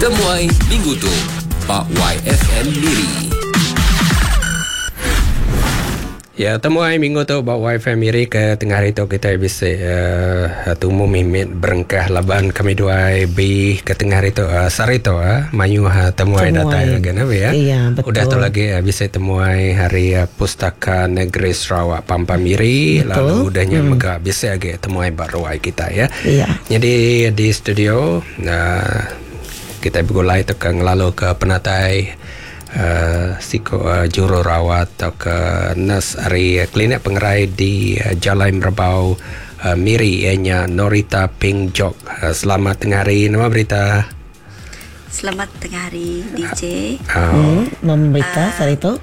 Temuai minggu tu ba YFM Miri. Ya, temuai minggu tu ba YFM Miri ke tengah hari tu kita bisi uh, tumu mimit berengkah laban kami duai B ke tengah hari tu uh, sehari tu uh, mayuh uh, temuai, Temuai. datai lagi nah ya. Ya, betul. Udah tu lagi uh, bisi temuai hari uh, Pustaka Negeri Sarawak Pampang Miri Betul. lalu udahnya hmm. mega bisi lagi temuai ba ruai kita ya. Ya. Jadi di studio uh, kita bergulai tu ke ngelalu ke penatai uh, siko uh, juru rawat atau ke nurse ari klinik pengerai di uh, Jalai Merbau uh, Miri ianya Norita Pingjok. Uh, selamat tengah hari, nama berita? Selamat tengah hari DJ. Uh, Nama berita sehari tu.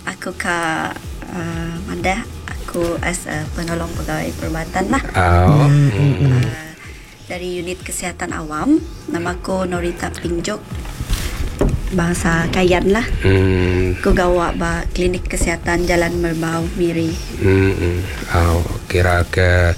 Aku ke Mandah, aku as a penolong pegawai perubatan lah. Oh. Dari unit kesihatan awam. Nama aku Norita Pingjok. Bangsa Kayan lah. Aku gawak ba klinik kesihatan Jalan Merbau Miri. Oh, kira ke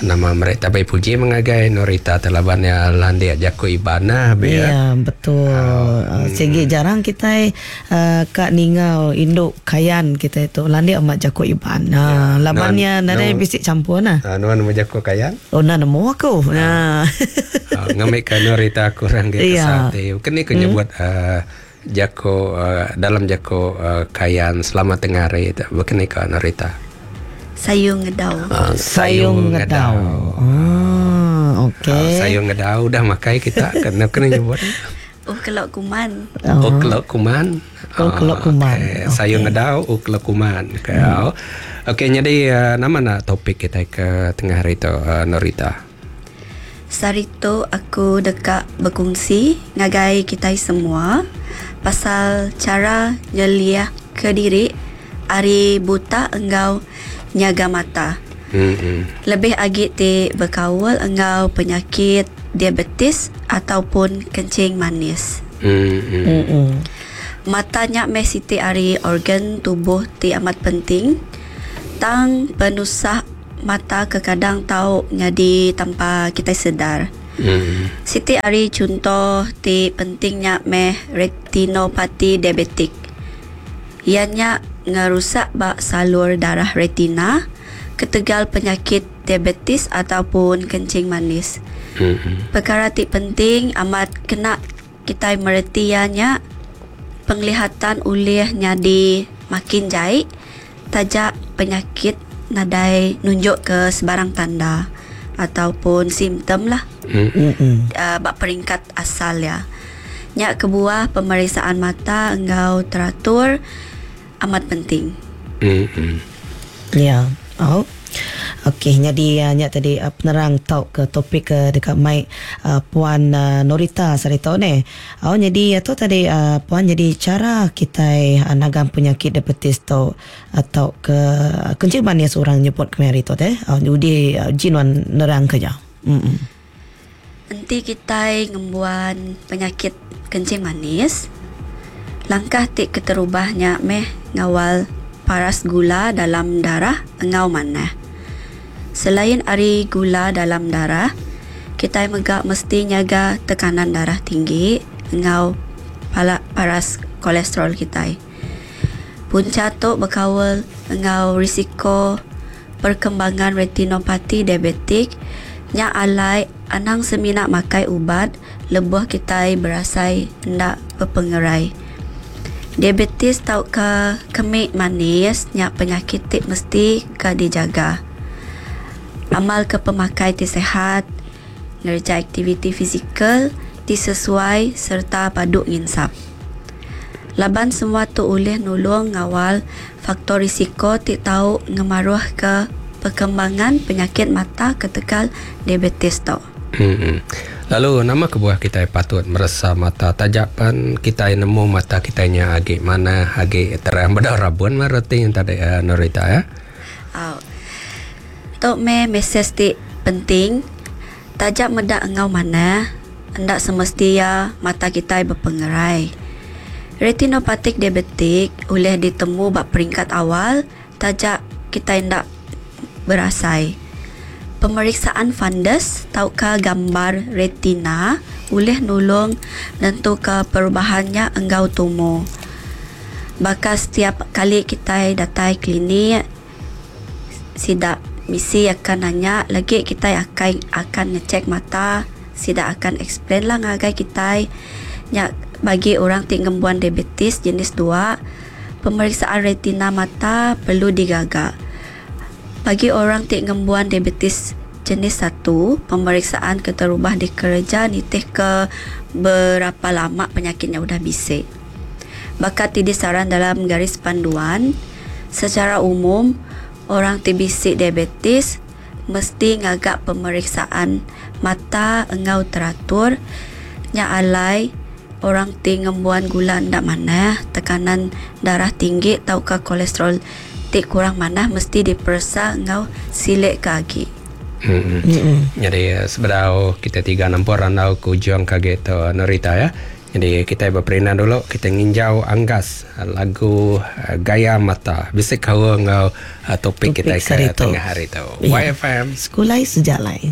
nama mereka baik puji mengagai Norita telaban ya landia jaku ibana be ya. Ya, betul. Oh. Segi jarang kita uh, kak ningau induk kayan kita itu landia amat jaku iban. Ha, Ya. labannya Non- nadai no. bisik campur nah. Nuan nama jaku kayan? Oh, nah nemu aku. Nah. Uh, ngambil ke Norita kurang dia Ya. kesate. Kini ke nyebut uh, jaku uh, dalam jaku uh, kayan selamat tengah hari itu. Bekini ke Norita. Sayung ngedau. Sayung ngedau. Ah, okey. Sayung ngedau udah makai kita kena kena nyebut. Oh, kelok kuman. Oh. Uklok kuman. Oh, kelok kuman. Okey. Sayung ngedau uklok kuman. Okey. Okey, jadi uh, nama nak topik kita ke tengah hari tu uh, Norita. Sehari tu aku dekat berkongsi ngagai kita semua pasal cara nyeliah ke diri ari buta enggau nyaga mata. Hmm. Lebih agi ti berkawal enggau penyakit diabetes ataupun kencing manis. Hmm. Mm-mm. Mata nyak meh siti ari organ tubuh ti amat penting. Tang penusah mata kekadang tau nyadi tanpa kita sedar. Siti ari contoh ti pentingnya meh retinopati diabetik. Ianya ngerusak bak salur darah retina ketegal penyakit diabetes ataupun kencing manis. Perkara ti penting amat kena kita meretianya penglihatan ulih nyadi makin jai tajak penyakit nadai nunjuk ke sebarang tanda ataupun simptom lah. Bak peringkat asal ya. Nyak kebuah pemeriksaan mata enggau teratur amat penting. Ya. Oh. Okey, jadi uh, nyak tadi uh, penerang tau ke topik ke dekat mic uh, Puan uh, Norita Sarito ni. Oh, jadi tu tadi uh, Puan jadi cara kita uh, nagam penyakit diabetes tu atau ke uh, kencing manis orang nyebut kemari tu teh. Oh, jadi uh, jinuan nerang ke ja. Nanti kita ngembuan penyakit kencing manis. Langkah tik keterubahnya meh ngawal paras gula dalam darah engau mana. Selain ari gula dalam darah, kita megak mesti nyaga tekanan darah tinggi engau paras kolesterol kita. Punca tu berkawal engau risiko perkembangan retinopati diabetik nya alai anang seminak makai ubat lebuh kita berasai ndak berpengerai. Diabetes tau ke kemik manis nya penyakit ti mesti ke dijaga. Amal ke pemakai ti sehat, ngerja aktiviti fizikal ti sesuai serta paduk nginsap. Laban semua tu ulih nulung ngawal faktor risiko ti tau ngemaruh ke perkembangan penyakit mata ketekal diabetes tu. Lalu nama kebuah kita patut meresa mata tajapan kita nemu mata kita nya agi mana agi terang beda rabun mereti yang tadi uh, Norita ya. Oh. Tok me mesej ti penting tajak medak engau mana hendak semestinya mata kita berpengerai. Retinopatik diabetik oleh ditemu bak peringkat awal tajak kita hendak berasai. Pemeriksaan fundus tauka gambar retina ulih nulung nentuka perubahan nya enggau tumu. Baka setiap kali kitai datai klinik, sida misi akan nanya lagi kitai akai akan ngechek mata, sida akan explain lah ngagai kitai nya bagi orang ti ngembuan diabetes jenis dua, pemeriksaan retina mata perlu digaga. Bagi orang ti ngembuan diabetes jenis satu, pemeriksaan keterubah dikereja nitihka berapa lama penyakit nya udah bisi. Baka ti disaran dalam garis panduan, secara umum orang ti bisi diabetes mesti ngaga pemeriksaan mata enggau teratur, nya alai orang ti ngembuan gula enda manah, tekanan darah tinggi tauka kolesterol ti kurang manah mesti diperesa enggau silik ke agi. Mm. Nyadi sebedau kita tiga nempur randau ke ujung ke agi tu Norita ya. Nyadi kitai beperindang dulu kita nginjau anggas lagu Gaya Mata bisi kaul enggau topik kitai ke tengah hari tu. YFM. Sekulai Sejalai.